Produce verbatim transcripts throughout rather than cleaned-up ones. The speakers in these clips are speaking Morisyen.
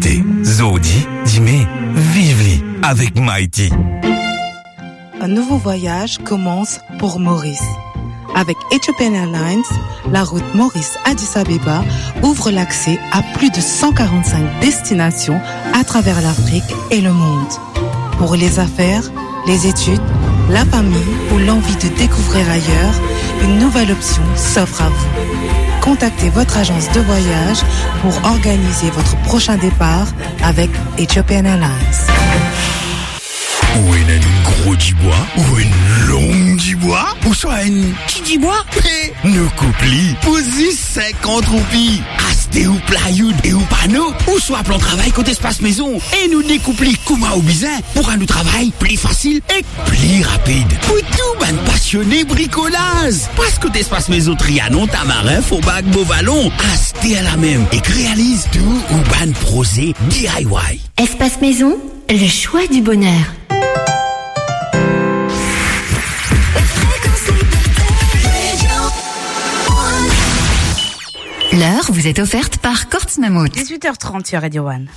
Te, zordi, dime, viv li avek Mighty. Un nouveau voyage commence pour Maurice. Avec Ethiopian Airlines, la route Maurice-Addis Abeba ouvre l'accès à plus de cent quarante-cinq destinations à travers l'Afrique et le monde. Pour les affaires, les études, la famille ou l'envie de découvrir ailleurs, une nouvelle option s'offre à vous. Contactez votre agence de voyage pour organiser votre prochain départ avec Ethiopian Airlines. Ou ena enn gro dibwa, ou enn long dibwa, ouswa enn ti dibwa? Pe nou koup li pou zis sinkant roupi. Aste ou plywood e ou pano, ouswa plan travay kot Espace Maison, e nou dekoup li kouma ou bizin, pou rant ou travay pli fasil e pli rapid. Pou tou bann pasione brikolaz, pas kot Espace Maison Trianon, Tamarin, Fourbac, Beau Vallon, aste alamem ek realiz tou ou bann proze D I Y. Espace Maison, le choix du bonheur. L'heure vous est offerte par Courts Mammouth. Dix-huit heures trente sur Radio One.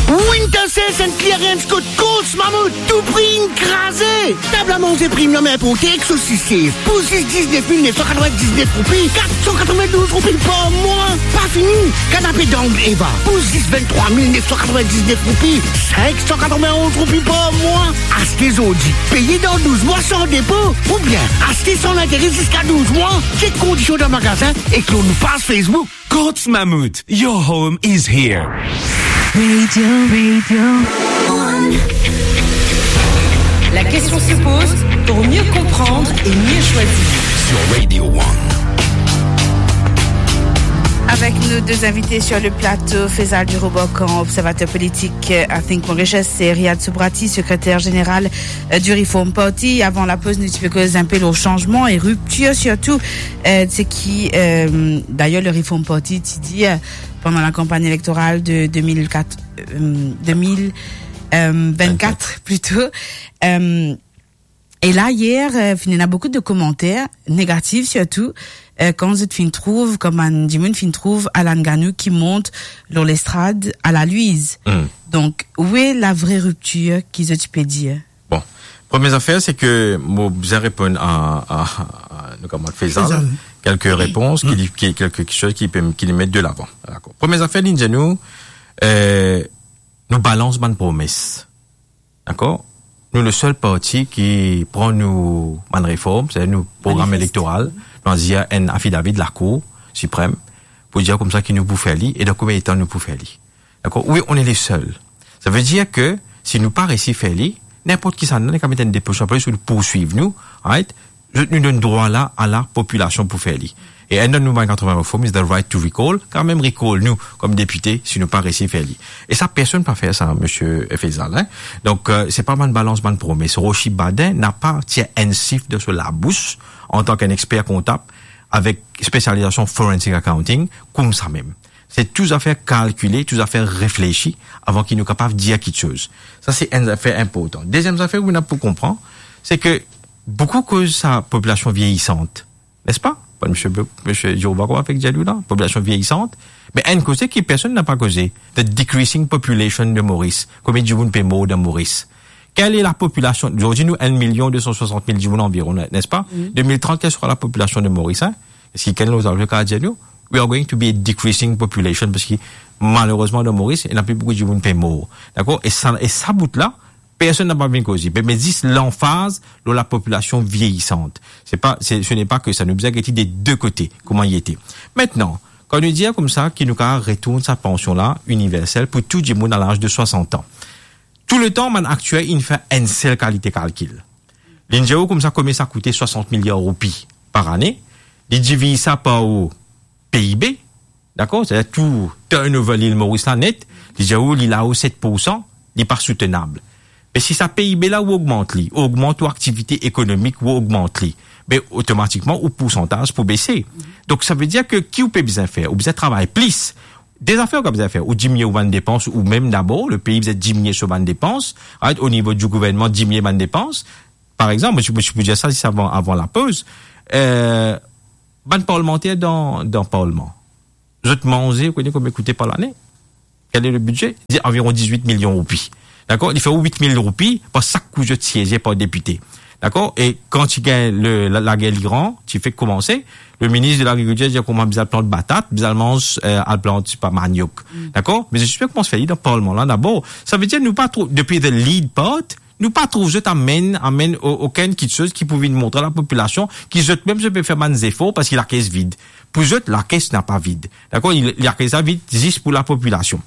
Winter Sale Clearance kot Courts Mammouth, tou pri inn kraze. Tab a manze premium inporte ek sosis Caesar pou zis diznef mil nef san katrovin-diznef roupi, kat san katrovin-douz roupi par mwa. Pa fini, kanape Down Eva pou zis venntrwa mil nef san katrovin-diznef roupi, sink san katrovin-onz roupi par mwa. Aste zordi, peye dan douz mwa san depo, oubien aste san lintere ziska douz mwa. Chek kondision dan magazin ek lor nou paz Facebook. Courts Mammouth, your home is here. Radio, Radio One. La question se pose pour mieux comprendre et mieux choisir. Sur Radio One. Avec nos deux invités sur le plateau, Faisal du Robocan, observateur politique, euh, à Think Mauritius, et Riyad Soubrati, secrétaire général, euh, du Reform Party. Avant la pause, nou ti pe koz inpe lor sanzman e riptir sirtou, euh, seki, euh, d'ailleurs, le Reform Party ti dir, euh, pandan la kanpagn elektoral de deux mille quatre, euh, deux mille, euh, vingt-quatre plutôt. Euh, e la, yer, euh, finn ena boukou de komanter negatif, sirtou, euh, kan zot finn trouv, kan bann dimoun finn trouv Alan Gagnoux ki mont lor lestrad a la Louise. Hmm. Donk, oue la vre riptir ki zot ti pe dir? Bon, premie zafer, se ke mo bizin reponn a, a, a nou kamarad Faisal, Faisal, kelke repons ki li, ki, kelke kiksoz ki pe, ki li met de lavan. Dakor. Premie zafer, li dir nou, euh, nou balans bann promes. Dakor? Nou le sel parti ki pran nou bann reform, setadir nou program elektoral, nou al dir enn afidavi Lakour Siprem, pou dir koumsa ki nou pou fer li, e dan konbien letan nou pou fer li. Dakor? Wi, on est les seuls. Sa ve dir ke si nou pa resi fer li, ninport kisannla, li kapav met enn depo sou lapolis pou nou poursuiv nou, right? Zot nou donn drwa la a lapopilasion pou fer li. E enn dan nou bann katrovin reform is the right to recall, kanmem recall nou kom depite si nou pa resi fer li. E sa, personn pa fer sa, misie Faisal, hein? Donk, euh, se pa bann balans bann promes. Rochi Baudin napa tir enn sif de so labous, antan ki enn exper kontab, avek spesializasion forensic accounting, koumsa mem. Se tou zafer kalkile, tou zafer reflesi avan ki nou kapav dir kiksoz. Sa, se enn zafer inportan. Deziem zafer, ou ena pou konpran, se ke boukou koz sa popilasion vieyisant, nespa? Bann misie, misie Dioba, kouma fek dir nou la, popilasion vieyisant. Me enn koze ki personn napa koze, the decreasing population de Maurice. Konbien dimoun pe mor dan Moris? Kel e lapopilasion? Zordi nou enn milion de san swasant mil dimoun anviron, nespa? Wi. De mil trant, kel sera lapopilasion de Moris, hein? Eski kenn lor zafar kapav dir nou, we are going to be a decreasing population, parski malerezman dan Moris, ena pli boukou dimoun pe mor. Dakor? E sa, e sa bout la, personn napa vinn koze. Pe met zis lanfaz lor lapopilasion vieyisant. Se pa, se, ce n'est pas que ça. Nou bizin gete de de kote, kouma li ete. Aster, kan nou dir koumsa ki nou kapav retourn sa pansion la iniversel pou tou dimoun a laz de swasant an, touletan bann aktier inn fer enn sel kalite kalkil. Li dir ou koumsa konbien sa koute swasant miliar roupi par ane, li diviz sa par ou P I B, dakor? Setadir tou turnover Lil Moris la net, li dir ou li la ou set poursan, li pa soutenab. Me si sa P I B la ou ogmant li, ou ogmant ou aktivite ekonomik, ou ogmant li, be otomatikman ou poursantaz pou bese. Donk sa ve dir ke ki ou pe bizin fer? Ou bizin travay plis. De zafer ou kapav bizin fer, ou dimnie ou bann depans, ou mem dabor, le pei bizin dimnie so bann depans, right? O nivo di gouvernman, dimnie bann depans. Par exanp, mo ti, mo ti pou dir sa zis avan, avan lapoz, euh, bann parlmanter dan, dan parlman, zot manze, ou kone konbien koute par lane? Quel est le budget? Li dir anviron diz-wit milion roupi. Dakor? Li fer ou wit mil roupi par sak kou zot sieze par depite. Dakor? E kan ti gagn le, la, lager Liran, ti fek koumanse, le minis de lagrikiltir dir kouma bizin al plant batat, bizin al manz, eh, al plant, pa, maniok. Dakor? Me zot ti pe koumans fer li dan parlman la dabor. Savedir nou pa trouv, depi the lead part, nou pa trouv zot amenn, amenn o-, okenn kitsoz ki pou vinn montre lapopilasion ki zot mem zot pe fer bann zefor parski lakes vid. Pou zot, lakes napa vid. Dakor? Li, lakes la vid zis pou lapopilasion.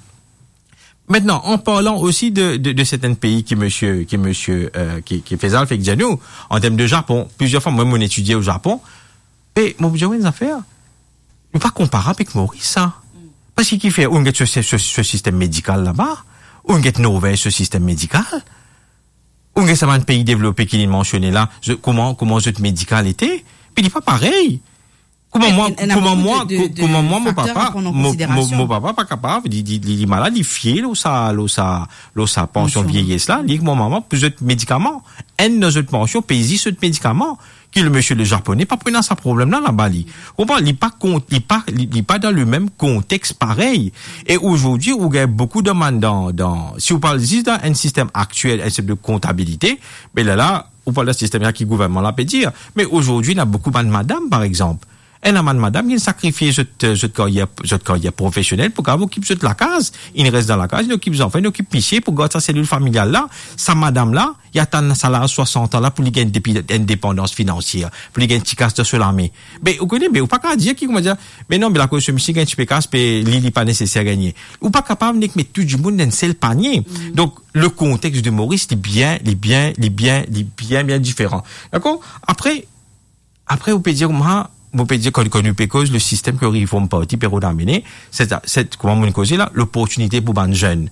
Maintenant, en parlant aussi de, de, de certains pays ki misie, ki misie, euh, ki, ki Faisal fek dir nou, an term de Japon, plizier fwa, mwa, mo etidie o Japon, e mo dir, wi, enn zafer, li pa konparab avek Moris, sa. Parski ki fer, ou get so, so, so sistem medikal laba, ou get Norvez so sistem medikal, ou get sa bann pei devlope ki li mansione la, zot, kouma, kouma zot medikal ete, pe li pa parey. Kouma mwa, kouma mwa, ko-, kouma mwa, mo papa, mo, mo, mo papa pa kapav, li, li, li, li malad, li fie lor sa, lor sa, lor sa pansion vieyes la, li ek mo mama pou zot medikaman. Enn dan zot pansion, pey zis zot medikaman. Ki le misie le Japone pa pena sa problem la, laba li. Konpran, li pa kont-, li pa, li, li pa dan le mem kontex parey. E azordi, ou gagn boukou demann dan, dan, si ou parl zis dan enn sistem aktiel, enn sistem de kontabilite, me la, la, ou parl dan sistem la ki gouvernman la pe dir. Me azordi, ena boukou bann madam, par exanp. Ena bann madam ki sakrifie zot, zot karyer, zot karyer profesionel pou kapav okip zot lakaz. Inn res dan lakaz, inn okip zanfan, inn okip misie pou gard sa selil familial la. Sa madam la, li atann sa laz swasant an la pou li gagn depi-, indepandans finansier, pou li gagn ti kas dan so lame. Be, ou kone, be, ou pa kapav dir ki, kouma dir, be non, be lakoz so misie gagn tipe kas, be li, li pa neseser gagne. Ou pa kapav nek met tou dimoun dan enn sel panie. Donk, le kontex de Moris, li bien, li bien, li bien, li bien, bien diferan. Dakor? Apre, apre, ou pe dir kouma, ou pe dir, kan, kan nou pe koz le sistem ke Reform Party pe rod amenn, se, se, kouma mo'nn koze la, loportinite pou bann zenn.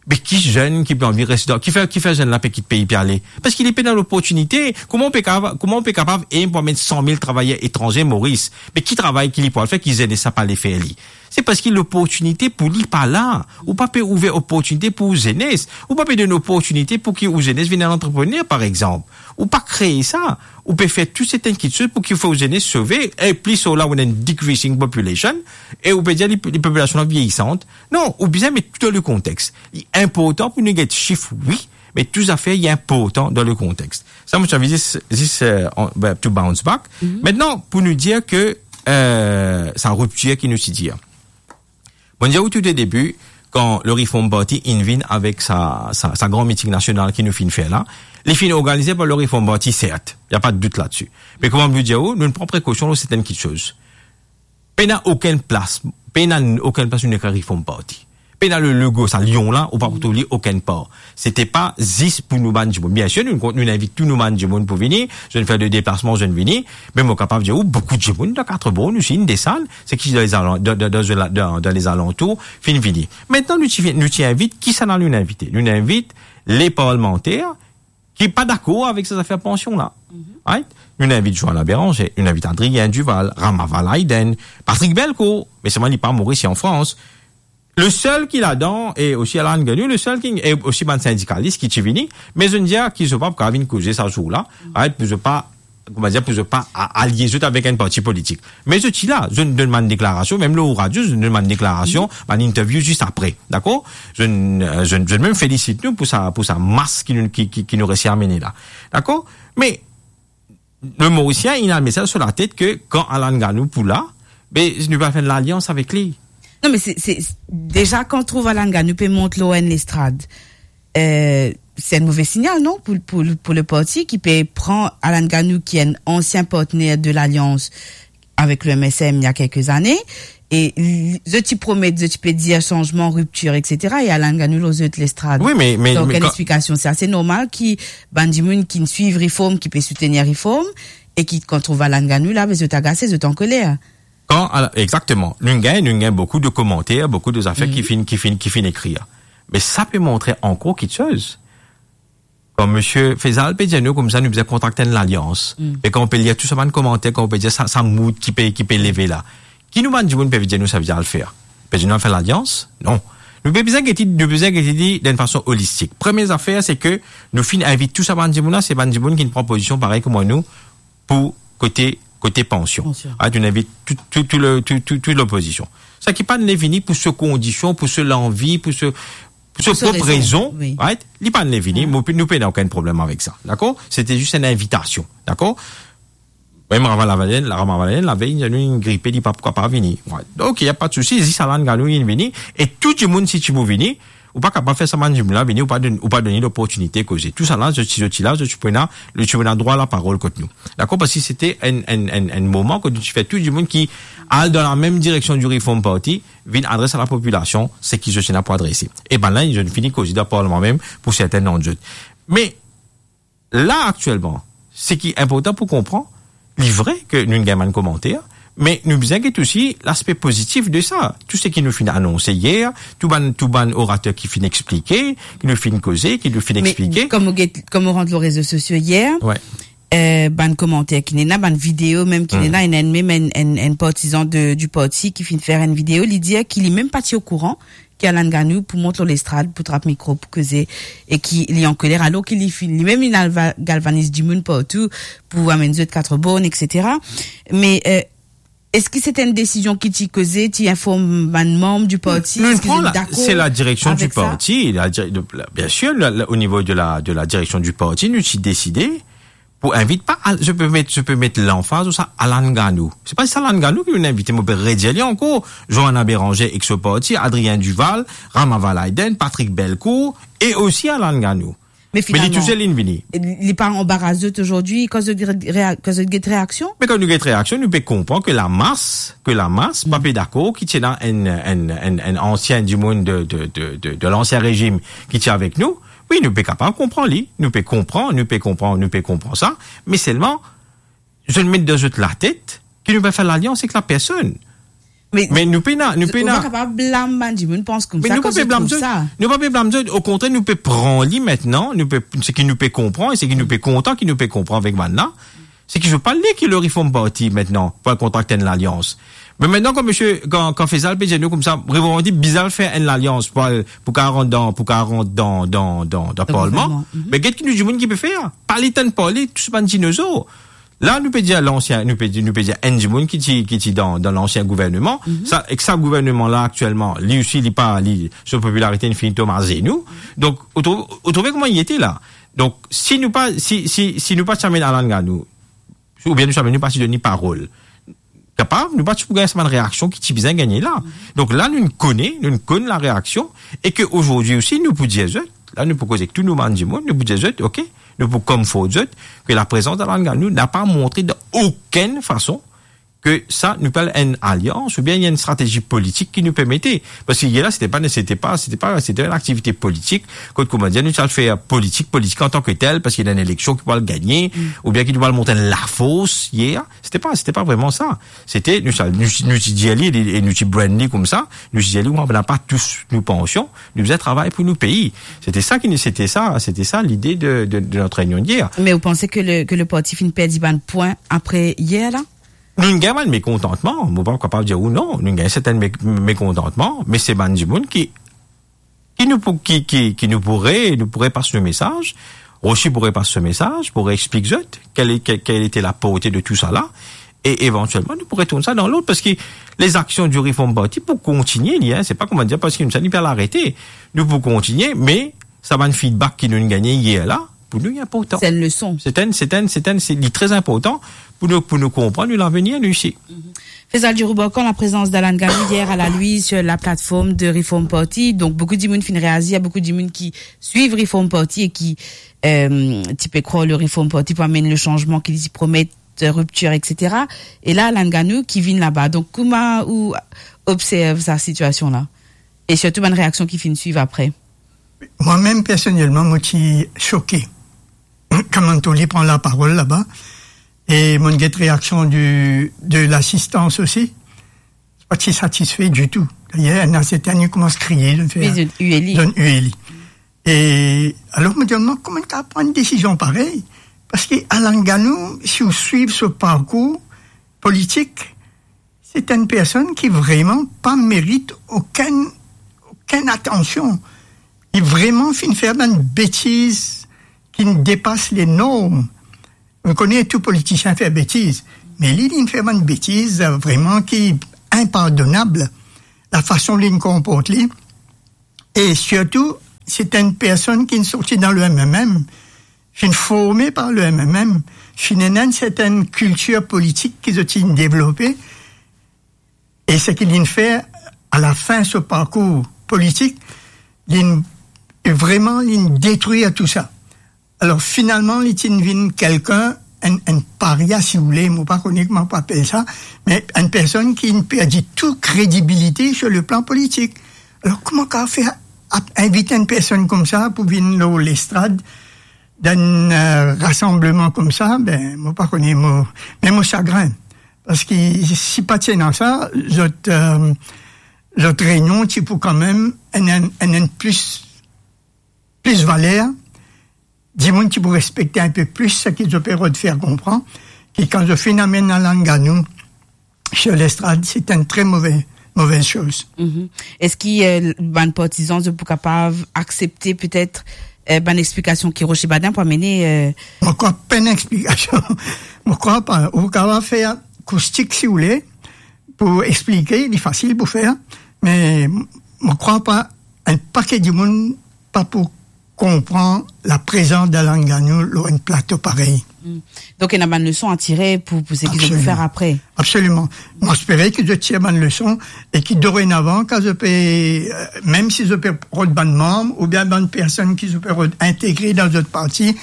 Me ki zenn ki pe anvi res dan, ki fer, ki fer zenn la pe kit pei pe ale? Parski li pena loportinite. Kouma ou pe kapav, kouma ou pe kapav, e, pou amenn san mil travayer etranze Moris? Me ki travay ki li pou al fer ki zenes la pa le fer li? Se parski loportinite pou li pa la. Ou pa pe ouver oportinite pou ou zenes. Ou pa pe donn oportinite pou ki ou zenes vinn enn antreprener, par exanp. Ou pa kree sa. Ou pe fer tou serten kitsoz pou ki ou fer ou zenes sove. E plis ou la, ou ena enn decreasing population. E ou pe dir li, li popilasion la vieyisan. Non, ou bizin met tou dan le kontex. Li inportan pou nou get sif, wi, me tou zafer, li inportan dan le kontex. Sa, mo ti anvi zis, zis, eh, an, be, to bounce back. Mintnan, pou nou dir ke, eh, sa riptir ki nou ti dir. Mo'nn dir ou tou o debi, kan le Reform Party inn vinn avek sa, sa, sa gran miting nasional ki nou finn fer la, li finn organize par le Reform Party, sert, y a pas de doute là-dessus. Me kouma mo dir ou, nou pran prekosion lor serten kitsoz. Pena okenn plas, pena okenn plas nou nek Reform Party. Pena le logo, sa lion la, ou pa pou trouv li okenn par. Sete pa zis pou nou bann dimoun. Biensir, nou, nou invit tou nou bann dimoun pou vini, zot fer de deplasman, zot vini, me mo kapav dir ou, boukou dimoun dan Quatre Bornes, nou inn desann, se ki dan lezalan-, dan, dan, dan, dan, dan lezalantour, finn vini. Mintnan, nou ti, nou ti invit, kisannla nou invite? Nou invit le parlmanter, ki pa dakor avek sa zafer pansion la. Right? Nou invit Joanna Bérenger, nou invit Adrien Duval, Ramaval Hayden, Patrick Belcourt, me selman li pa Moris, li an Frans. Le sel ki ladan, e osi Alan Gagnou, le sel ki, e osi bann sindikalis ki ti vini, me zot dir ki zot pa pou kapav vinn koze sa zour la, right? Pou zot pa, kouma dir, pou zot pa a-, alie zot avek enn parti politik. Me zot ti la, zot donn bann deklarasion, mem lor radio, zot donn bann deklarasion, bann interview zis apre, dakor? Zot, eh, zot, zot mem felisit nou pou sa, pou sa mas ki nou, ki, ki, ki nou resi amenn la. Dakor? Me le Morisien, inn al met sa lor so latet ke kan Alan Gagnou pou la, be, nou pa fer enn lalians avek li. Non, me se, se, deza, kan trouv Alan Gagnou pe mont lor enn lestrad, eh, se enn move signal, non, pou, pou, pou le parti ki pe pran Alan Gagnou, ki enn ansien partner de Lalians avek le M S M il y a quelques années, e li, zot ti promet, zot ti pe dir sanzman, riptir, et cetera, e Alan Gagnou lor zot lestrad. Wi, me, me, donk, me enn kan explikasion, se ase normal ki bann dimoun ki swiv Reform, ki pe soutenir Reform, e ki, kan trouv Alan Gagnou la, be zot agase, zot ankoler. Kan, ala, exactement. Nou gagn, nou gagn boukou de komanter, boukou de zafer ki finn, ki finn, ki finn ekrir. Me sa pe montre ankor kitsoz. Kan misie Faisal pe dir nou koumsa, nou bizin kontrakte enn lalians. E kan ou pe lir tou sa bann komanter, kan ou pe dir sa, sa mood ki pe, ki pe leve la. Ki nou bann dimoun pe dir nou sa bizin al fer? Pe dir nou al fer lalians? Non. Nou pe bizin gete, nou bizin gete li dan enn fason olistik. Premie zafer, se ke nou finn invit tou sa bann dimoun la, se bann dimoun ki pran pozision parey kouma nou, pou kote, kote pansion. Pansion. Ah, nou invit tou, tou, tou le, tou, tou, tou lopozision. Seki pa'nn le vini pou so kondision, pou so lanvi, pou so, pou so Pou so prop rezon, rezon, wi. Right? Li pa'nn le vini, Ah. mo pe-, nou pena okenn problem avek sa, dakor? Sete zis enn invitasion, dakor? Mem Rama Ravalomanana, la Rama Ravalomanana, lavey, nou inn gripe, li pa pou kapav vini. Right. Donk, y a pas de souci, zis Alan Gano inn vini, e tou dimoun, si ti pou vini, ou pa kapav fer sa bann dimoun la vini, ou pa donn, ou pa donn li loportinite koze. Tousala, zot ti, zot ti la, zot ti pena, zot ti pena drwa laparol kot nou. Dakor? Parski sete enn, enn, enn, enn moman kot nou ti fer tou dimoun ki al dan lamem direksion di Reform Party, vinn adres a lapopilasion seki zot ena pou adrese. E bann la, zot fini koze dan parlman mem pou sertenn dan zot. Me la, aktielman, seki inportan pou konpran, li vre ke nou gagn bann komanter, me nou bizin get osi laspe pozitif de sa. Tou seki nou finn anonse yer, tou bann, tou bann orater ki finn explike, ki nou finn koze, ki nou finn Me explike. Kouma ou get, kouma ou rant lor rezo sosio yer, Ouais. eh, bann komanter ki ena, bann video mem ki Hmm. ena, ena mem enn, enn, enn partizan de, di parti ki finn fer enn video, li dir ki li mem pa ti okouran ki Alan Gano pou mont lor lestrad, pou trap mikro, pou koze, e ki li ankoler, alor ki li finn, li mem li al va-, galvaniz dimoun partou pou amenn zot kat born, et cetera. Me, eh, eski se enn desizion ki ti koze, ti inform bann manm di parti, Nou eski pran zot la, dakor se la direksion di avek sa? Parti, la dir-, la, bien sir, la, la, o nivo de la, de la direksion di parti, nou ti deside pou invit pa Al-, je peux mettre, je peux mettre l'emphase sur ça, Alan Gano. Se pa zis Alan Gano ki nou invite, mo pe redir li ankor, Johanna Béranger ek so parti, Adrien Duval, Rama Ravalomanana, Patrick Belcourt, e osi Alan Gano. Me Me li finalman, tousel linn vini. Li pa anbaras zot azordi, kan zot get rea-, kan zot get reaksion? Me kan nou get reaksion, nou pe konpran ke lamas, ke lamas pa Hmm. pe dakor ki ti ena enn, enn, enn, enn ansien dimoun de, de, de, de, de lansien rezim ki ti avek nou. Wi, nou pe kapav konpran li, nou pe konpran, nou pe konpran, nou pe konpran sa, me selman, zot met dan zot latet ki nou pe fer lalians ek la personn. Me Me nou pena, nou ou pena pa kapav blam bann dimoun pans Me koumsa nou pa kan pe zot blam trouv zot, sa. Nou pa pe blam zot, okontrer, nou pe pran li aster, nou pe, seki nou pe konpran, e seki nou pe kontan ki nou pe konpran avek bann la, seki zot pa le ki le Reform Party aster pou al kontrakte enn lalians. Me aster, kan misie, kan, kan Faisal pe dir nou koumsa, Reform Party bizin fer enn lalians pou al, pou kapav rant dan, pou kapav rant dan, dan, dan, dan Dan parlman. Gouvernman, mhm. Me get ki nou dimoun ki pe fer, pa le tann parle, tou bann dinozor. La, nou pe dir lansien, nou pe dir, nou pe dir enn dimoun ki ti, ki ti dan, dan lansien gouvernman. Mhm. Sa, ek sa gouvernman la aktielman, li osi, li pa, li, so popilarite inn fini tom azenou. Donk, ou trouv, ou trouve kouma li ete la. Donk, si nou pa, si, si, si nou pa ti amenn Alan Gano, oubien nou ti amenn, nou pa ti donn li parol, kapav, nou pa ti pou gagn sa bann reaksion ki ti bizin gagne la. Donk la, nou kone, nou konn la reaksion, e ke azordi osi, nou pou dir zot, la, nou pou koz ek tou nou bann dimoun, nou pou dir zot, ok, nou pou konfort zot, ke laprezans Alan Gano napa montre dan okenn fason ke sa, nou pe al enn alians, oubien enn stratezi politik ki nou pe mete. Parski yer la, sete pa, sete pa, sete pa, sete enn aktivite politik, kot, kouma dir, nou ti al fer politik, politik antanketel, parski ena enn eleksion ki pou al gagne, Mm. oubien ki nou pou al mont enn lafors yer, sete pa, sete pa vreman sa. Sete, nou sa, nou, nou ti dir li, e nou ti brand li koumsa, nou ti dir li, nou napa tous nou pansion, nou bizin travay pou nou pei. Sete sa ki, sete sa, sete sa lide de, de, de notre réunion d'hier. Me ou panse ke le, ke le parti finn perdi bann pwin apre yer la? Nou gagn bann mekontantman, mo pa kapav dir ou non, nou gagn sertenn me-, mekontantman, me se bann dimoun ki ki nou pou, ki, ki, ki nou pou re-, nou pou repas nou mesaz, Rochi pou repas so mesaz, pou reexplik zot kel, kel, kel ete laporte de tou sa la, e evantielman nou pou retourn sa dan lord, parski lezaksion di Reform Party pou kontinie, li, hein, se pa kouma dir, parski nou sa, li pe al arete, nou pou kontinie, me sa bann feedback ki nou gagne yer la, pou nou, li inportan. Se enn leson. Se enn, se enn, se enn, se, li tre inportan pou nou, pou nou konpran nou lavenir, nou isi. Faisal Djiroubor, kan laprezans d'Alan Gano yer a la Louise sur la plateforme de Reform Party, donk boukou dimoun finn reazir, boukou dimoun ki swiv Reform Party e ki, euh, ti pe krwar le Reform Party pou amenn le sanzman ki li ti promet, euh, riptir, et cetera. E la, Alan Gano ki vinn laba. Donk, kouma ou observ sa sitiasion la? E sirtou bann reaksion ki finn swiv apre? Mwa mem, personelman, mo ti soke. Kan mo'nn trouv li pran laparol laba, e mo'nn get reaksion di, de lasistans osi, pa ti satisfe ditou. Dayer, ena sertin, li koumans kriye, zot fer, Wi, zot ue li. Zot ue li. E alor, mo dir, mo, kouma li kapav pran enn desizion parey? Parski Alan Gano, si ou swiv so parkour politik, se enn personn ki vreman pa merit okenn, okenn atansion. Li vreman finn fer bann betiz ki depas le norm. Nou kone tou politisien fer betiz, me li, li finn fer bann betiz, euh, vreman ki inpardonab. lafason li konport li, e sirtou, se enn personn ki sorti dan le M M M, finn forme par le M M M, finn ena enn sertenn kiltir politik ki zot inn devlope, e seki linn fer, alafin so parkour politik, linn, vreman, linn detrir tou sa. Alor, finalman, li ti vinn kelkenn, enn, enn paria, si ou le, mo pa kone kouma pou apel sa, me enn personn ki inn perdi tou kredibilite sur le plan politik. Alor, kouma ou kav fer ap-, invit enn personn koumsa pou vinn lor lestrad dan enn, euh, rasanbleman koumsa? Ben, mo pa kone, mo, me mo sagrin. Parski si pa ti ena sa, zot, euh, zot reynion ti pou kanmem enn, enn, enn, enn plis, plis valer, dimoun ti pou respekte enn pe plis seki zot pe rod fer konpran, ki kan zot finn amenn Alan Gano sur lestrad, se enn tre move, movez soz. Mhm. Eski, euh, bann partizan, zot pou kapav aksepte petet, euh, bann explikasion ki Rocher Badin pou amene, euh, Mo krwar pa enn explikasion. Mo krwar pa. Ou kapav fer koustik si ou le, pou explike, li fasil pou fer, me mo krwar pa enn pake dimoun pa pou konpran laprezans Alan Gano lor enn plato parey. Hmm. Donk, ena bann leson a tire pou, pou seki zot pou fer apre. Absoliman. Mo espere ki zot tir bann leson e ki dorenavan, kan zot pe, euh, mem si zot pe rod bann manm oubien bann personn ki zot pe rod integre dan zot parti,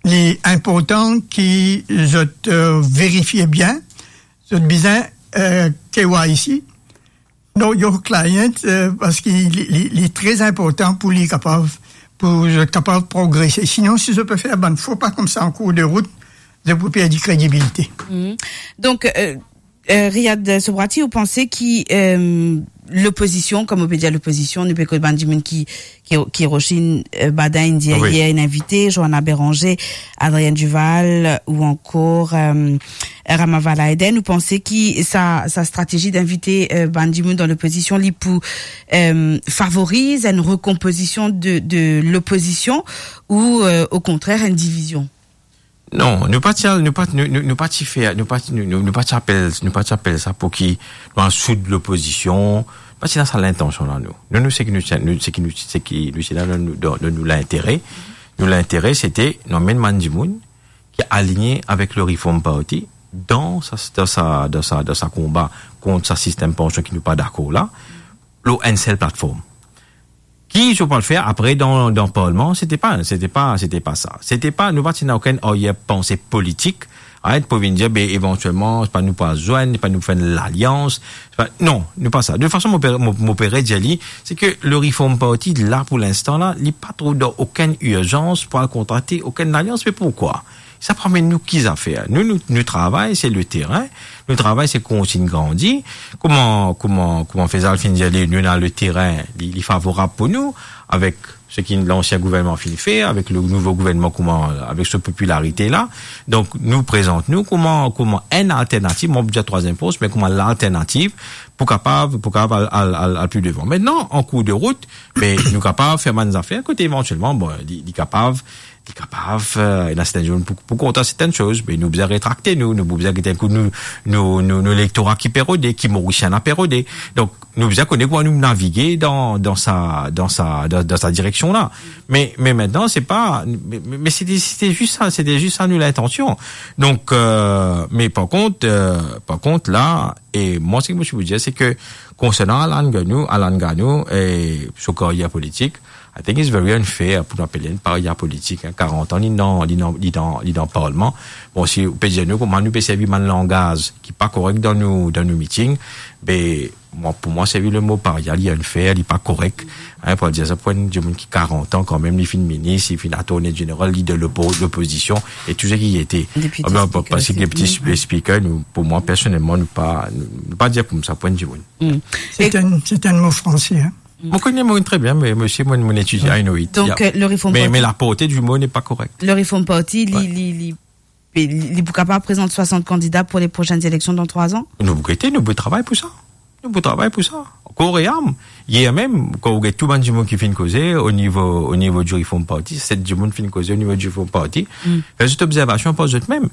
li inportan ki zot, euh, verifie bien, zot bizin, euh, K Y C, Know Your Client, euh, parski li, li, li tre inportan pou li kapav, pou zot kapav progrese. Sinon, si zot pe fer bann fo pa koumsa an kour de rout, zot pou perdi kredibilite. Mhm. Donk, euh, euh, Riyad Sobrati, ou panse ki, euh, lopozision, kouma ou pe dir lopozision, nou pe kot bann dimoun ki, ki, ki Rocher, euh, Badin inn dir yer, inn invite, Johanna Béranger, Adrienne Duval, ou ankor, euh, Rama Valaeden, ou panse ki sa, sa stratezi d'invite, euh, bann dimoun dan lopozision, li pou, euh, favoriz enn rekonpozision de, de lopozision ou, euh, okontrer, enn divizion? Non, nou pa ti al, nou pa, nou, nou, nou pa ti fer, nou pa, nou, nou, nou pa ti apel, nou pa ti apel sa pou ki nou al soud lopozision. Pa ti ena sa lintansion la, nou. Nou, nou, seki nou, nou, seki nou, seki nou ti la, nou, nou, nou, nou lintere. Nou lintere, sete nou amenn bann dimoun ki aligne avek le Reform Party dan sa, dan sa, dan sa, dan sa konba kont sa sistem pansion ki nou pa dakor la, lor enn sel platform. Ki zot pou al fer apre dan, dan parlman, sete pa, sete pa, sete pa sa. Sete pa, nou pa ti ena okenn aryer panse politik, right, pou vinn dir, be, evantielman, se pa nou pou al zwenn, se pa nou pou fer enn lalians, se pa, non, nou pa sa. De tout fason, mo pe, mo, mo pe redir li, se ke le Reform Party la, pou linstan la, li pa trouv dan okenn irzans pou al kontrakte okenn lalians. Me poukwa? Sa pou amenn nou ki zafer? Nou, nou, nou travay, se le terin. Nou travay, se kontign grandi. Kouma, kouma, kouma Faisal finn dir, li, nou ena le terin, li, li favorab pou nou, avek seki lansien gouvernman finn fer, avek le nouvo gouvernman, kouma, avek so popilarite la. Donk, nou prezant nou kouma, kouma enn alternativ, mo pa dir trwaziem fors, me kouma lalternativ pou kapav, pou kapav al, al, al, al pli devan. Aster, an kour de rout, me nou kapav fer bann zafer, kote evantielman, bon, li, li kapav, li kapav, euh, ena sertin dimoun pou, pou kontan sertin soz, me nou bizin retrakte nou, nou bizin get enn kou nou, nou, nou, nou lektora ki pe rode, ki Morisien la pe rode. Donk, nou bizin kone kouma nou navige dan, dan sa, dan sa, dan, dan sa direksion la. Me, me aster, se pa, me, me, me sete, sete zis sa, sete zis sa nou lintansion. Donk, euh, me par kont, euh, par kont la, e mwa, seki mo ti pou dir, se ke konsernan Alan Gano, Alan Gano, e so karyer politik, I think it's very unfair pou nou apel li enn paria politik, hein. Karant an, li dan, li dan, li dan, li dan parlman. Bon, si ou pe dir nou kouma nou pe servi bann langaz ki pa korek dan nou, dan nou miting, be, mwa, pou mwa, servi le mo paria, li unfair, li pa korek, hein, pou dir sa pou enn dimoun ki karant an kanmem, li finn minis, li finn attorney general, lider lopo-, lopozision, e tou seki li ete. Depite, ah ben, speaker, parski depite, speaker, nou, pou mwa, personelman, nou pa, nou, nou pa dir koumsa pou enn dimoun. Hmm. Se enn, se enn mo franse, hein. Mo kone mo tre bien, me, misie, mo, mo etidie, I know it. Donk, yeah, euh, le Reform Party, me, me la porte di mo n'est pas correct. Le Reform Party, li, ouais, li, li, li, li pou kapav prezant swasant kandida pou le prosenn eleksion dan trwa an? Nou pou gete, nou pou travay pou sa. Nou pou travay pou sa, kor e am. Yer mem, kan ou get tou bann dimoun ki finn koze o nivo, o nivo di Reform Party, set dimoun finn koze o nivo di Reform Party, fer zot obzervasion par zot mem.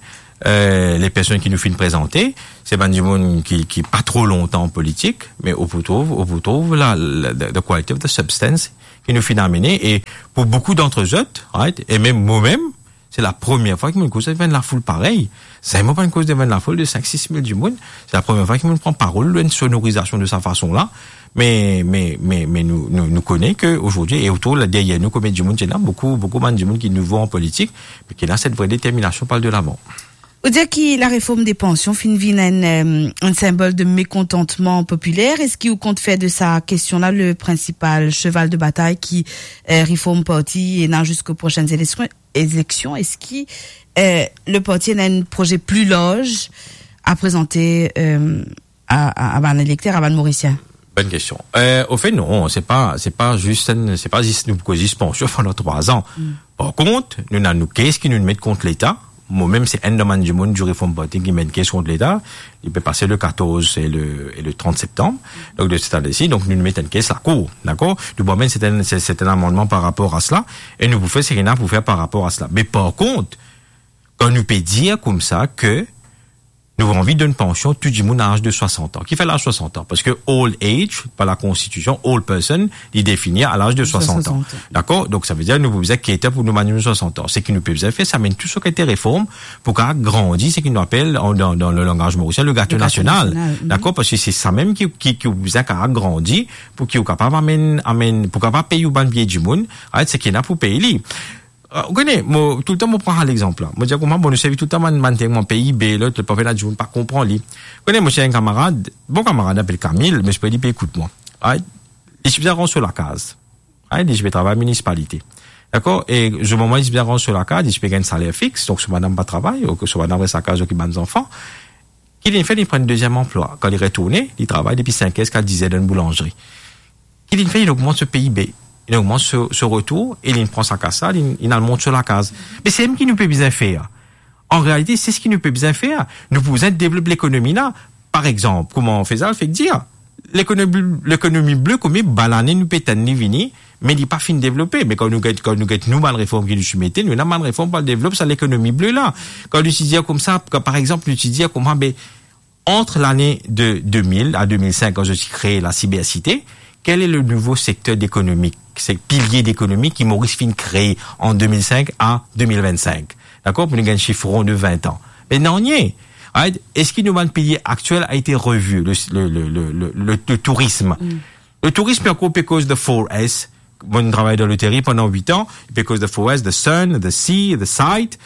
Eh, les personnes ki nou finn prezante, se bann dimoun ki, ki pa tro lontan an politik, me ou pou trouv, ou pou trouv la, la, the, the quality of the substance ki nou finn amene, e pou boukou d'antre zot, right, e mem mwa mem, se la premie fwa ki mo'nn koz devan enn lafoul parey. Zame mo pa'nn koz devan enn lafoul de sink, sis mil dimoun. Se la premie fwa ki mo'nn pran parol lor enn sonorizasion de sa fason la. Me, me, me, me nou, nou, nou kone ke azordi, e otour la, deryer nou, konbien dimoun ti ena, boukou, boukou bann dimoun ki nouvo an politik, me ki ena set vre determinasion pou al de lavan. Ou dir ki lareform de pansion finn vinn enn, eh, enn sinbol de mekontantman popiler. Eski ou kont fer de sa kestion la le prinsipal seval de batay ki, eh, Reform Party ena ziska prosenn eleksion? Eleksion, eski, eh, le parti ena enn proze pli larz a prezante, eh, a, a, a bann elekter, a bann Morisien? Bonn kestion. Eh, ofet, non, se pa, se pa zis enn, se pa zis nou koz zis pansion pandan trwa an. Par kont, nou ena nou kes ki nou met kont Leta. Mwa mem, se enn dan bann dimoun di Reform Party ki met kes kont Leta. Li pe pase le katorz e le, e le trant septanm. Donk, de set ane si, donk, nou met enn kes lakour, dakor? Nou pou amenn, se enn, se, se enn amannman par rapor a sela, e nou pou fer seki ena pou fer par rapor a sela. Me par kont, kan nou pe dir koumsa ke nou anvi donn pansion tou dimoun a laz de swasant an. Kifer laz swasant an? Parski old age, par lakonstitision, old person, li defini a laz de swasant an. Swasant an. Dakor? Donk, sa ve dir nou pou bizin cater pou nou bann dimoun swasant an. Seki nou pe bizin fer, se amenn tou sa ki ete reform pou kapav agrandi seki nou apel, an, dan, dan le langaz morisien, le gato nasional. Le gato nasional, mhm. Dakor? Parski se sa mem ki, ki, ki ou bizin kapav agrandi pou ki ou kapav amenn, amenn, pou kapav pey ou bann vie dimoun, right, seki ena pou pey li. Eh, ou kone, mo, toultan mo pran sa lexanp la. Mo dir kouma, bon, nou servi toultan bann, bann term, PIB, lot, lot, parfwa ena dimoun pa konpran li. Ou kone, mo ti ena enn kamarad, bon kamarad, apel Camille, me sipoze li pe ekout mwa. Right? Li ti bizin rant so lakaz. Right? Li ti pe travay minisipalite. Dakor? E, zour moman li ti bizin rant so lakaz, li ti pe gagn saler fix, donk so madam pa travay, oubien so madam res lakaz okip bann zanfan. Ki li fer, li pran enn deziem anplwa. Kan li retourne, li travay depi sink er ziska diz er dan enn boulanzri. Ki li fer, li ogmant so PIB, li ogmant so, so retour, e li pran sa kas la, li, li al mont so lakaz. Me se mem ki nou pe bizin fer. An realite, se seki nou pe bizin fer. Nou pou bizin devlop lekonomi la. Par exanp, kouma Faisal fek dir, lekonomi, lekonomi ble, konbien bann lane nou pe tann li vini, me li pa finn devlope. Me kan nou get, kan nou get nou bann reform ki nou ti mete, nou ena bann reform pou al devlop sa lekonomi ble la. Kan nou ti dir koumsa, kan, par exanp, nou ti dir kouma, be, ant lane de de mil a de mil sink, kan zot ti kree la sibersite, quel est le nouveau secteur d'économie, se pilie dekonomi ki Moris finn kree an de mil sink a de mil vennsink? Dakor, pou nou gagn sif ron de vin an. Me nanye. Right? Eski nou bann pilie aktiel a ete revi? Le, le, le, le, le, le, le tourism. Mm. Le tourism, ankor pe koz the four S. Mo'nn travay dan loteri pandan wit an, pe koz the four S, the sun, the sea, the sight,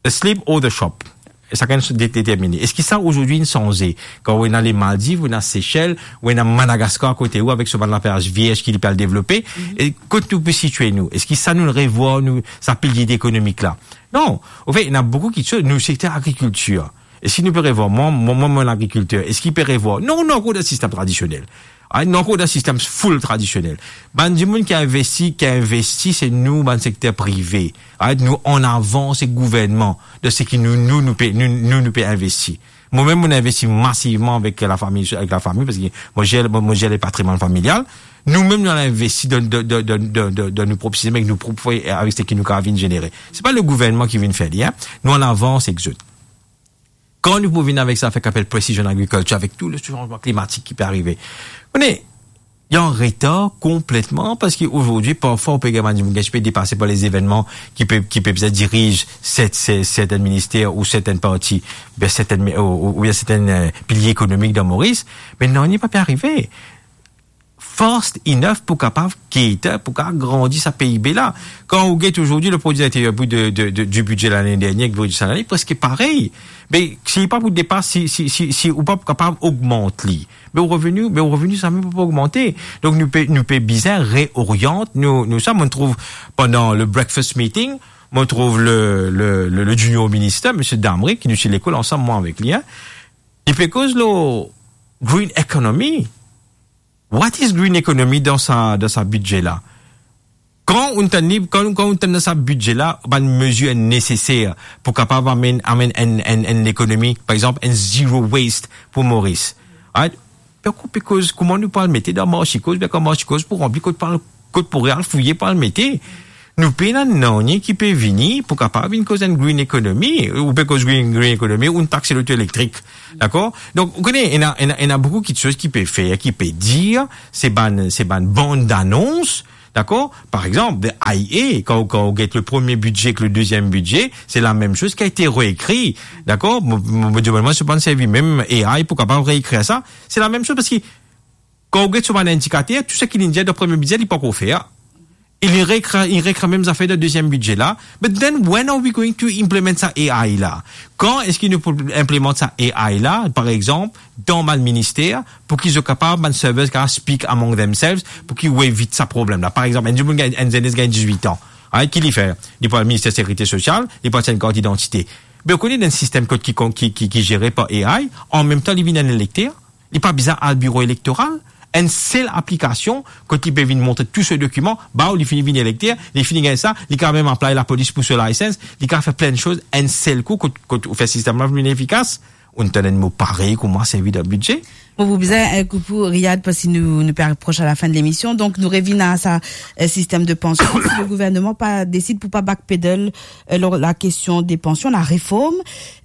the sleep or the shop. E sakenn de-, determine. Eski sa, azordi, inn sanze? Kan ou ena le Maldiv, ou ena Sesel, ou ena Madagaskar akote ou, avek so bann laplaz vierz ki li pe al devlope, mhm, e kot nou pe sitie nou? Eski sa nou revwar, nou, sa pilie ekonomik la? Non. Anfet, ena boukou kiksoz. Nou sekter agrikiltir. Eski nou pe revwar? Mwa, mwa, mwa, mwa, lagrikilter, eski pe revwar? Non, nou ankor dan sistem tradisionel. Ah, nou ankor dan sistem full tradisionel. Bann dimoun ki investi, ki investi, se nou, bann sekter prive. Ah, nou an avan, se gouvernman. Dan seki nou, nou, nou pe, nou, nou, nou pe investi. Mwa mem, mo'nn investi masivman avek lafami, avek lafami, parski mo zer, mo, mo zer le patrimwann familial. Nou mem, nou al investi dan, dan, dan nou prop sistem, avek nou prop fway, avek seki nou kapav vinn zenere. Se pa le gouvernman ki vinn fer li, hein. Nou an avans ek zot. Kan nou pou vinn avek sa, fer ki apel precision agriculture, avek tou le sanzman klimatik ki pe arive, nou, nou an retar konpletman, parski azordi, parfwa, ou pe gagn bann dimoun ki pe depase par lezevennman ki pe, ki pe bizin diriz set, set, sertenn minister ou sertenn parti, oubien sertenn, ou, ou, oubien sertenn, euh, pilie ekonomik dan Moris. Me nanye pa pe arive fast enough pou kapav cater, pou kapav agrandi sa PIB la. Kan ou get azordi le prodwi interier brut de, de, de, di bidze lane dernie ek bidze sa lane, preske parey. Me si li pa pou depas, si, si, si, si ou pa pou kapav ogmant li, me ou reveni, me ou reveni sa mem pa pou ogmante. Donk nou pe, nou pe bizin reoriant nou, nou sa. Mo'nn trouv pandan le breakfast meeting, mo'nn trouv le, le, le, le junior minister, misie Damry, ki nou ti lekol ansam, mwa avek li, hein. Li pe koz lor green economy. What is green economy dan sa, dan sa bidze la? Kan ou tann li, kan, kan ou tann dan sa bidze la, bann mezir neseser pou kapav amenn, amenn enn, enn, enn lekonomi, par exanp, enn zero waste pou Moris. Right? Donk, ou pe koz kouma nou pou al mete dan marsi koz, bien kan marsi koz pou ranpli kot pou al, kot pou al fouye pou al mete. Nou pena nanye ki pe vini pou kapav vinn koz enn green economy. Ou pe koz green, green economy, ou taxe loto elektrik. Dakor? Donk, ou kone, ena, ena, ena boukou kitsoz ki pe fer, ki pe dir, se bann, se bann bann danons, dakor? Par exanp, de I A, kan, kan ou get le premie bidze ek le deziem bidze, se la mem soz ki a ete reekri, dakor? Mo, mo, mo dir, mwa, si ou pa servi mem A I pou kapav reekrir sa, se la mem soz, parski kan ou get so bann indikater, tou seki linn dir dan premie bidze, li pankor fer. Li reekrir, li reekrir mem zafer dan deziem bidze la. But then, when are we going to implement sa A I la? Kan eski nou pou inplimant sa A I la, par exanp, dan bann minister, pou ki zot kapav, bann servers kapav speak among themselves, pou ki ou evit sa problem la? Par exanp, enn dimoun gagn, enn zenes gagn dizwit an. Ay, ki li fer? Li pou al minister sekirite sosial, li pou al aste enn kart idantite. Be ou kone, dan enn sistem kot ki, ki, ki, ki zere par A I, an mem tan li vinn enn elekter, li pa bizin al biro elektoral, enn sel aplikasion, kot li pe vinn montre tou so dokiman, baw, li fini vinn elekter, li fini gagn sa, li kapav mem apply lapolis pou so license, li kapav fer plin soz enn sel kou, kot, kot ou fer sistem la vinn efikas. Ou tann enn mo parey kouma servi dan bidze? Bon, pou bizin, eh, koup ou, Riyad, parski nou, nou pe apros a lafin de lemision. Donk, nou revinn a sa, eh, sistem de pansion. Si le gouverneman pa desid pou pa backpedal, eh, lor la kestion de pansion, la reform,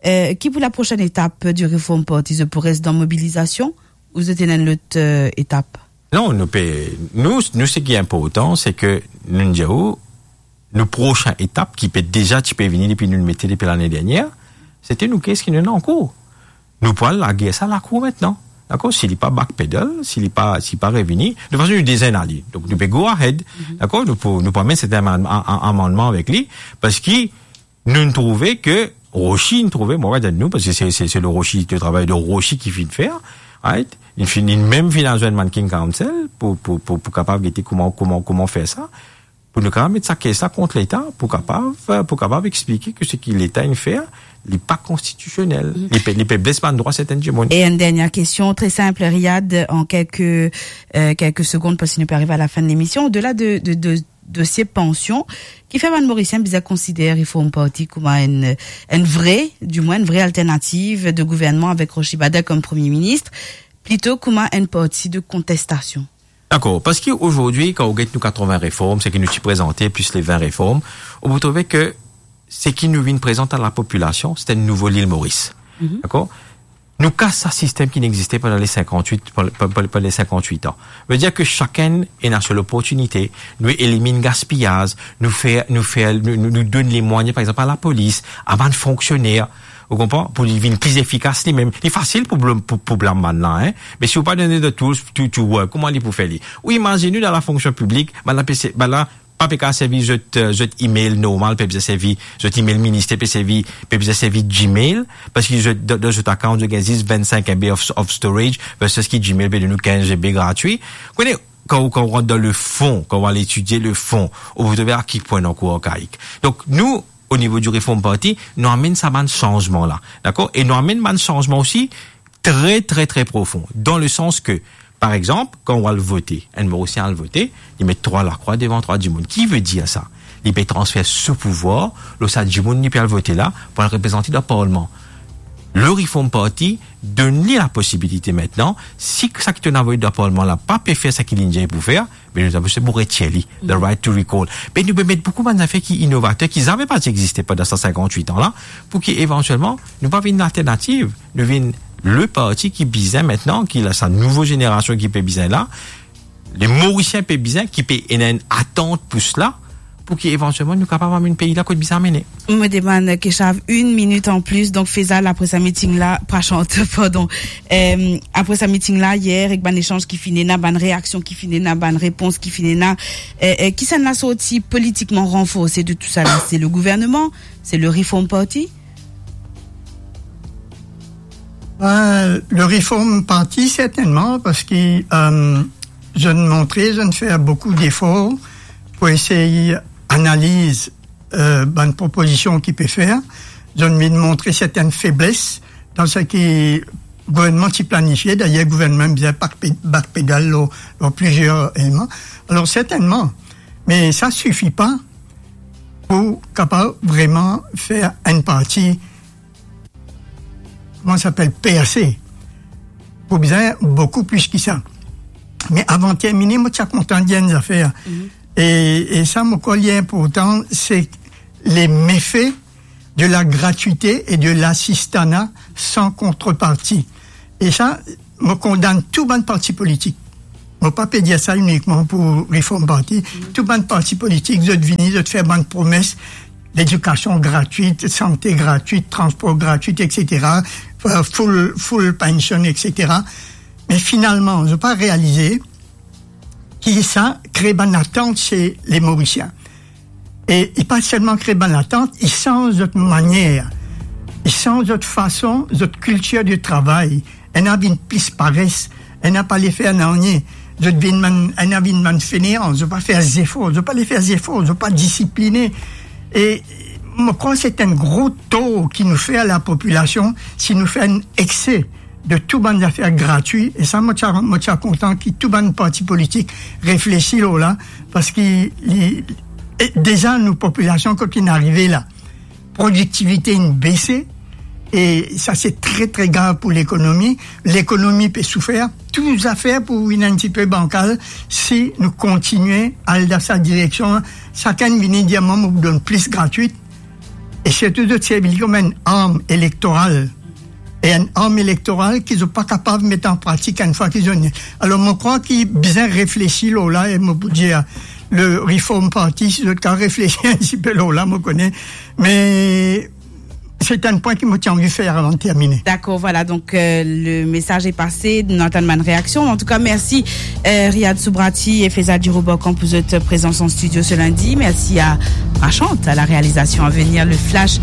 eh, ki pou la prosenn etap di Reform Party? Zot pou res dan mobilizasion ou zot ena enn lot, eh, etap? Non, nou pe, nou, nou, seki inportan, se ke nou dir ou, nou prosin etap ki pe deza ti pe vini depi nou mete depi lane dernier, sete nou kes ki nou ena ankor. Nou pou al lager sa lakour aster. Dakor? Si li pa backpedal, si li pa, si li pa revini, de fason nou deza ena li. Donk nou pe go ahead. Mhm. Dakor? Nou pou, nou pou amenn sertin am-, a-, a-, amannman avek li, parski nou, nou trouve ke Rochi, nou trouve, mo pa dir nou, parski se, se, se le Rochi, le travay de Rochi ki finn fer, right? Li finn, li mem finn al zwenn Banking Council pou, pou, pou, pou kapav gete kouma, kouma, kouma fer sa. Pou nou kapav met sa kes la kont Leta, pou kapav, pou kapav explike ke seki Leta inn fer, li pa konstitisionel. Mm. Li pe, li pe bles bann drwa sertin dimoun. E enn dernie kestion, tre sinp, Riyad, an kelke, eh, kelke segonn, parski nou pe ariv a lafin de lemision. Odela de, de, de dosie pansion, kifer bann Morisien bizin konsider Reform Party kouma enn, enn vre, dimwin enn vre alternativ de gouvernman avek Rochi Bader kom premie minis, plito kouma enn parti de kontestasion? Dakor, parski azordi, kan ou get nou katrevin reform, seki nou ti prezante, plis le vin reform, ou pou trouve ke seki nou vinn prezant a lapopilasion, se enn nouvo Lil Moris. Mhm. Dakor? Nou kas sa sistem ki inn existe pandan le sinkantwit, pandan, pandan, pandan le sinkantwit an. Vedir ke sakenn ena so loportinite, nou eliminn gaspiyaz, nou fer, nou fer, nou, nou, nou donn lemwayen, par exanp, a lapolis, a bann fonksioner, ou konpran, pou li vinn pli efikas limem. Li fasil pou blam, pou, pou blam bann la, en. Me si ou pa donn li the tools to, to work, kouma li pou fer li? Ou imazinn ou dan lafonksion piblik, bann la pe se-, bann la pa pe kapav servi zot, eh, zot email normal, pe bizin servi zot email minister, pe servi, pe bizin servi Gmail, parski zot, dan, dan zot account, zot gagn zis vennsink M B of, of storage, versus ki Gmail pe donn ou kinz M B gratwi. Kone, kan ou, kan ou rant dan le fon, kan ou al etidie le fon, ou pou trouve a ki pwin nou ankor arkaik. Donk, nou, o nivo di Reform Party, nou amenn sa bann sanzman la, dakor? E nou amenn bann sanzman osi tre, tre, tre profon, dan le sans ke, par exanp, kan ou al vote, enn Morisien al vote, li met trwa lakrwa devan trwa dimoun. Ki vedir sa? Li pe transfer so pouvwar lor sa dimoun li pe al vote la pou al reprezante dan parlman. Le Reform Party donn li laposibilite aster, si sa ki to ena vote dan parlman la pa pe fer sa ki li dir pou fer, be nou ena pou retir li, the right to recall. Be nou pe met boukou bann zafer ki inovater, ki zame pa ti existe pandan sa sinkantwit an la, pou ki evantielman nou pa vinn lalternativ, nou vinn le parti ki bizin aster, ki la sa nouvo zenerasion ki pe bizin la, le Morisien pe bizin, ki pe ena enn atant pou sela, pou ki evantielman nou kapav amenn pei la kot bizin amene. Mo demann Keshav enn minit anplis, donk Faisal, apre sa meeting la, pa chante, pardon. Eh, apre sa meeting la yer, ek bann esanz ki finn ena, bann reaksion ki finn ena, bann repons ki finn ena, eh, eh, kisannla sorti politikman ranforse de tou sa la? Se le gouverneman, se le Reform Party? Ben, le Reform Party, sertennman, parski, eh, zot inn montre, zot inn fer boukou defor pou esey analiz, eh, bann propozision ki pe fer. Zot inn montre sertenn febles dan seki gouvernman ti planifie. Dayer, gouvernman bizin backpe-, backpedal lor, lor plizier eleman. Alor, sertennman, me sa sifi pa pou kapav vreman fer enn parti, kouma sa apel, perse. pou bizin boukou plis ki sa. Me avan termine, mo ti a kontan dir enn zafer. E, e sa, mo krwar li inportan, se le mefe de la gratwite e de lasistana san kontreparti. E sa, mo kondann tou bann parti politik. Mo pa pe dir sa inikman pou Reform Party. Tou bann parti politik, zot vini, zot fer bann promes, ledikasion gratwit, sante gratwit, transpor gratwit, et cetera, full, full pension, et cetera. Me finalman, zot pa realize ki sa kre bann atant se le Morisien. E li pa selman kre bann atant, li sanz zot manier, li sanz zot fason, zot kiltir de travay. Ena vinn plis pares, ena pa le fer nanye. Zot vinn bann, ena vinn bann fenean, zot pa fer zefor, zot pa le fer zefor, zot pa disipline. E mo krwar se enn gro tor ki nou fer a lapopilasion si nou fer enn ekse de tou bann zafer gratwi. E sa, mo ti a, mo ti a kontan ki tou bann parti politik reflesi lor la, parski li, e deza nou popilasion, kot inn arive la, prodiktivite inn bese, e sa se tre, tre grav pou lekonomi. Lekonomi pe soufer, tou zafer pou vinn enn tipe bankal si nou kontigne al dan sa direksion. Sakenn vini dir, "Mwa, mo pou donn plis gratwit." E sirtou zot servi li kouma enn arm elektoral. E enn arm elektoral ki zot pa kapav met an pratik enn fwa ki zot inn. Alor, mo krwar ki bizin reflesi lor la, e mo pou dir le Reform Party, si zot kapav reflesi enn tipe lor la, mo kone. Me se enn pwin ki mo ti anvi fer avan termine. Dakor, vwala, donk, euh, le mesaz e pase, nou atann bann reaksion. Antouka, mersi, euh, Riyad Soubrati e Feza Dirobokan pou zot prezans an studio se lindi. Mersi a Prachant a la realizasion. A venir, le flash,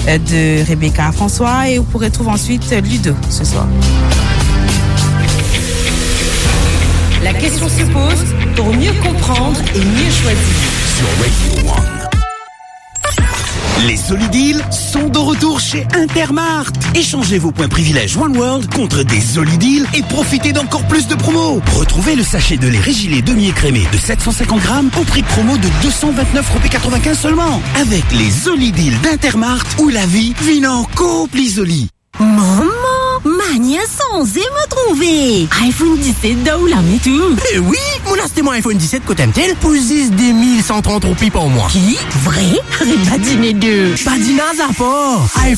euh, de Rebecca François e ou pou retrouv answit, euh, Ludo se swar. La question se pose pour mieux comprendre et mieux choisir. Sur Radio One. Les Zoli Deals sont de retour chez Intermart. Échangez vos points privilèges One World contre des Zoli Deals et profitez d'encore plus de promos. Retrouvez le sachet de lait Régilet demi-écrémé de sept cent cinquante grammes au prix promo de deux cent vingt-neuf roupies quatre-vingt-quinze seulement. Avec les Zoli Deals d'Intermart, où la vie vient encore plus zoli. Mama, manier sanze mo trouve. iPhone diset dan ou lame tou. E wi, mo'nn aste mo iPhone diset kot M T L pou zis de mil san trant roupi par mwa. Ki? Vre? Aret badine de. Badina zapar.